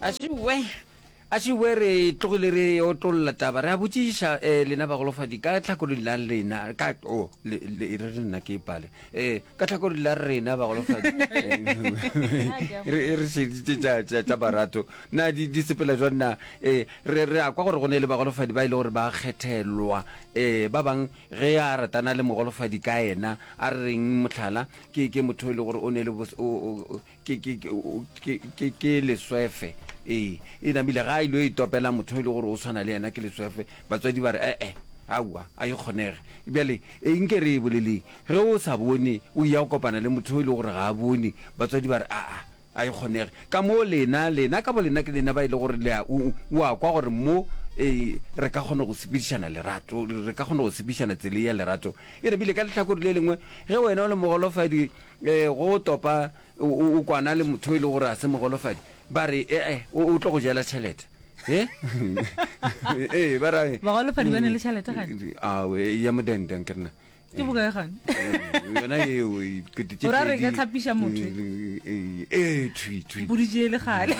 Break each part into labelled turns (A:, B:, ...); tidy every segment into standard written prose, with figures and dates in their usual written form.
A: Ašiwe, ašiwe re tlogile re otlolla taba re a botšiša um lena bagolofadi ka tlhakolong la lena ka o le le re re nna ke pale um ka tlhakolong la rena bagolofadi re re šeditše tša tša tša barato na di di sepela jwang na um re re a kwa gore go ne le bagolofadi ba e le gore ba kgethelwa um ba bang ge a ratana le mogolofadi ka yena a re reng mohlala ke ke motho e le gore o ne le o Ke, ke, ke, ke, ke, ke leswefe. Ee, e namile ga a ile itopela motho e le gore o tshwana le yena ke leswefe. Batswadi ba re, e-e, aowa, a e kgonege. Bjale, e, nke re e boleleng. Ge o sa bone, o ya go kopana le motho e le gore ga a bone, batswadi ba re, aa, a e kgonege. Ka mo lena, lena ka bolena ke lena ba e le gore le a, o, o a kwa gore mo, ee, re ka kgona go sepedišana lerato, re ka kgona go sepedišana tsela ya lerato. E re bile ka lehlakore le lengwe, ge wena o le mogolofadi, Ee, go topa o, o kwana le motho e le gore a se mogolofadi, ba re ee, o, o tlo go jela tšhelete. E? Ee, ba ra.
B: Bagolofadi ba ne le tšhelete gane?
A: Awe, ya modendeng ke rena.
B: Ke bokae gane?
A: Yona eo, dikete
B: tše O ra re ka tlhapiša motho?
A: Ee, thwi, thwi.
B: Mpoditše e le kgale.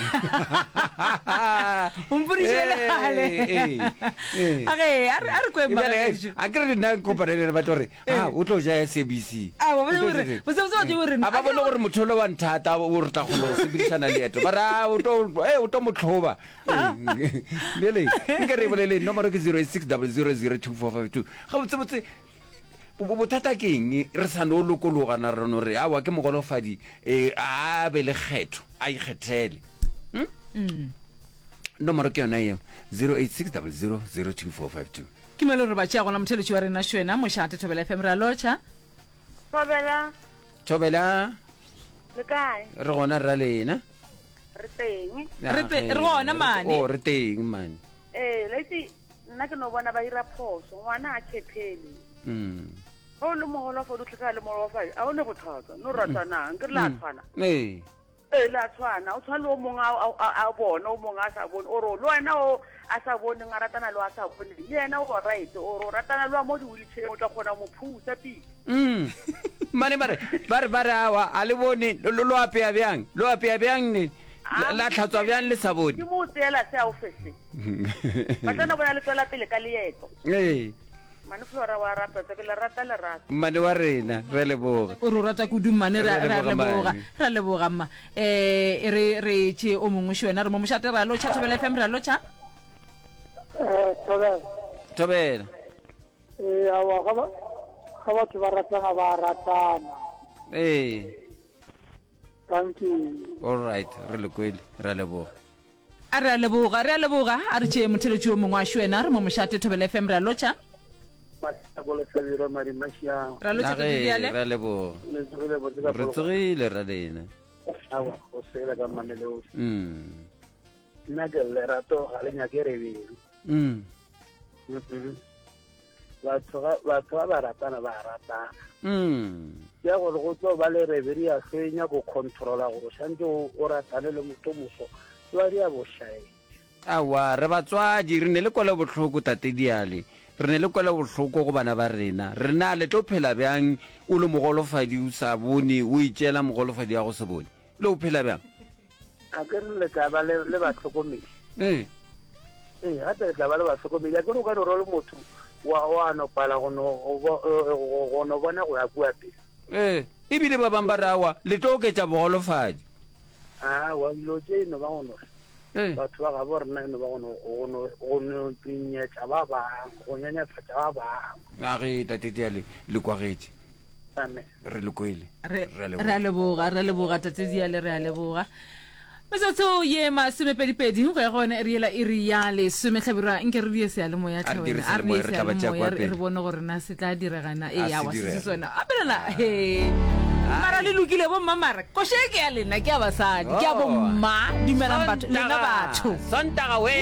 B: O mpoditše e le kgale.
A: Ee, ee.
B: A ge, a re, a re kweng
A: bagaešo. A ke re nna kopane le ba tlo re, a o tlo ja SABC.
B: A ba bone gore botse botse ba gore
A: a ba bone gore motho ole wa nthata o re tla kgona go sepedišana leeto ba re a o tlo eh o tlo motlhoba bjale nke re bolele nomoro ke 086 000 2452 ga botse botse bothata ke eng re sa no lokologa na re no re awa ke mogolofadi eh a be le kgetho a ikgethele hmm? mm. nomoro ke yona eo 086 000 2452
B: Ke mo e le gore ba tšea gona motheletši wa rena Šwena, Mošate, Thobela FM, re a lotšha.
C: Thobela.
A: Thobela.
C: Le kae?
A: Re gona rra lena.
C: Re teng.
B: Re te, re gona mane.
A: Oh, re teng mane.
C: Eh, le itse nna ke no bona ba ira phoso, ngwana a khethele.
A: Mm.
C: Ge o le mogolofadi o tlhokega le mogolofadi, a o ne bothata, no ratanang, ke re la tshwana.
A: Ee.
C: Ee, le a tshwana. O tshwana le o mongwe a, a, a bona, o mongwe a sa bone. Ore le wena o a sa boneng a ratana le o a sa boneng, le yena o right. Ore o ratana le wa mo di-wheelchair, o tla kgona go mo phusa pele.
A: Mm. Mane ba re, ba re, ba re awa, a le bone, lo, lo apea bjang? Lo apea bjang ne? La, la tlhatswa bjang le sa bone?
C: Ke mo o tseela se a o fe se. Ba tla no bona le tswela pele ka leeto.
A: Ee.
C: Mmane Flora wa rata ke le rata lerato.
A: Mmane wa rena, re a leboga.
B: O re o rata kudu mmane, re a leboga. Re a leboga mma. Eh, e re re tše o mongwe še wena re mo mošate re a lotšha Thobela FM re a lotšha.
D: Eh, Thobela.
A: Thobela.
D: Eh, awa ga ba ga batho ba ratana ba ratana.
A: Eh.
D: Thank you.
A: All right, re le kwele, re a leboga.
B: A re a leboga, re a leboga. A re tšee motheletši yo mongwe wa wena, re mo mošate Thobela FM, re a lotšha. Re a lotšha
A: Tate Diale. Re a leboga. Re tsogile ra lena.
D: Awa, o sele ka mamelodi.
A: Mm.
D: Nna ke lerato ga le nyake rebele.
A: Mm.
D: Mm Batho ga batho ba ba ratana ba ratana.
A: Mm.
D: Ya gore go tlo ba le rebele ya hlwenya go controla gore santse o ratane le motho moso. Ba di a bošae.
A: Aowa, re batswadi, re ne le kwelobohloko, Tate Diale. Re ne le kwelobohloko go bana ba rena. Re na le tlo phela bjang o le mogolofadi o sa bone, o itšeela mogolofadi wa go se bone? Le o phela bjang?
D: A ke re le tla ba le, le bahlokomedi.
A: Ee.
D: Ee, gape le tla ba le bahlokomedi. A ke re o ka no re le motho wa, wa no pala go no, go, go, go no bona go ya kua pele.
A: Ee, ebile ba bang ba re aowa, le tlo oketša bogolofadi.
D: Aowa, dilo tše e no ba go no re.
A: Ee.
D: Batho ba gabo rena e no ba go no, go no, go no pinyetša ba bangwe, go nyenyefatša ba bangwe.
A: A ge Tate Diale le kwagetše.
D: Amen.
A: Re le kwele.
B: Re
A: Re a
B: re a leboga, re a leboga Tate Diale, re a leboga. Metsotso ye masomepedipedi go ya go yona iri yela iri ya lesome hlabirwa nke re die seyalemoya
A: A re dire
B: tlhe wena. A re die
A: seyalemoya, re tla ba tšea
B: seyalemoya
A: kwa
B: re
A: pele.
B: re bone gore na se tla direga na
A: A
B: ee
A: se
B: awa se se
A: direge.
B: sona a pelela he mara le lokile bomma mara koše ke ya lena ke ya basadi ke ya
A: Oh.
B: bomma dumelang batho lena batho
A: Sontaga we.